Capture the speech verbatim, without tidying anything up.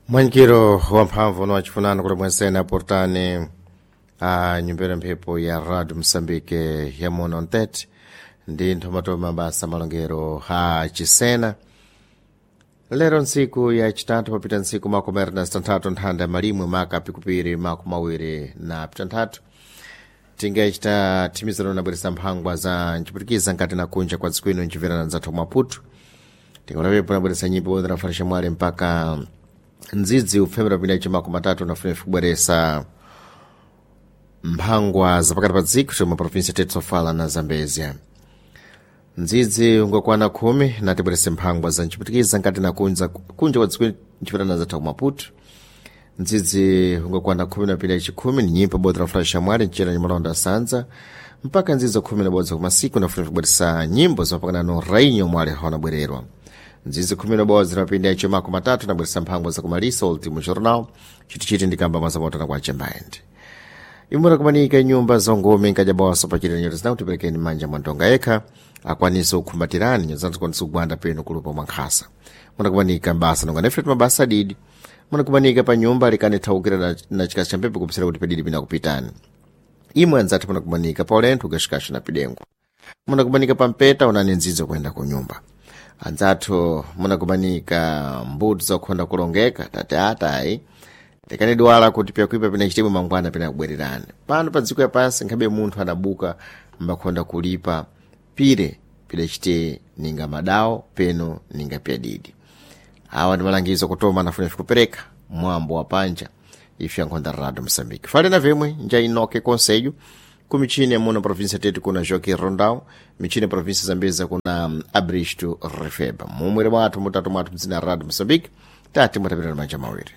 Mwanyikiro wamphamvu nowachifunano kuti mwensene aportani a nyumbera mphepo ya Radio Msambike ya muno ntete ndi nthomatoma mabasa malongero a chisena. Lero ntsiku ya chitatu, papita ntsiku makumi awiri na zitanthatu nthanda ya malimwe maka pikupiri makumi awiri na pitanthatu, tingachita thimizano nabweresa mphangwa za nchiputikiza nkati na kunja kwa dziko ino nchimverana nzathu Maputo. Tingonapepo nabweresa nyimbo bodza nafarisha mwale mpaka ndzidzi upfemera pinda chimako matatu nafuna kubweresa mphangwa zapakati pa dziko chomwe provinsi tete Sofala na Zambezia. Ndzidzi ungakwana khumi natibwerese mphangwa za nchiputikiza nkati na kunja kunja kwa dziko nchimverana zathu Maputo. Ndzidzi ungakwana khumi na pila chikhumi ni nyimbo bodza lafulaxa mwali mchera ni malonda sanza mpaka ndzidzi khumi na bodza kumasiku nafuna kubweresa nyimbo zapakanano rainyo mwali haona bwererwa. Ndzidzi khumi na bodza napinda icho mako matatu nabweresa mphangwa zakumalisa Ultimo Jornal chitichiti ndikamba mazamotana kwa chembaendi imura kumanika nyumba zongome nkajabawaso pachita nyoto zinakuti perekeni manja mwantonga yekha akwanise kukhumbatirani nyoto zinakwanisa kugwanda peno kulupa mwankhasa. Munakumanika mbasa nonga nefret mabasa adidi munakumanika pa nyumba likani thawukira na, na chikasi cha mpepo kupsira kuti pedidi pinakupitani. Imwe anzathu munakumanika pa ulenthu ukashikasha na pidengo munakumanika pa mpeta unani nzidzo kuyenda ku nyumba. Anzathu munakumanika mbuto zakukhonda kulongeka tate atayi tikanidwala kuti pyakuipa pina chitemwe mangwana pina kubwererani pano pa dziko yapansi nkhabe munthu adabuka mbakhonda kulipa pire pidachite ninga madawo peno ninga pyadidi. Awa ndi malangizo kutoma anafuna kupereka mwambo wa panja ife yankhonda Radio Msambiki fale na vimwe nja inoke konseyo ku michini ya muno provinsia tete kuna Joaquim Rondão, michini ya provinsia Zambeza kuna Abristo Refeba. Mumwere mwathu mutatu mwathu mdzina Radio Msambiki tati mwatapita manja mawiri.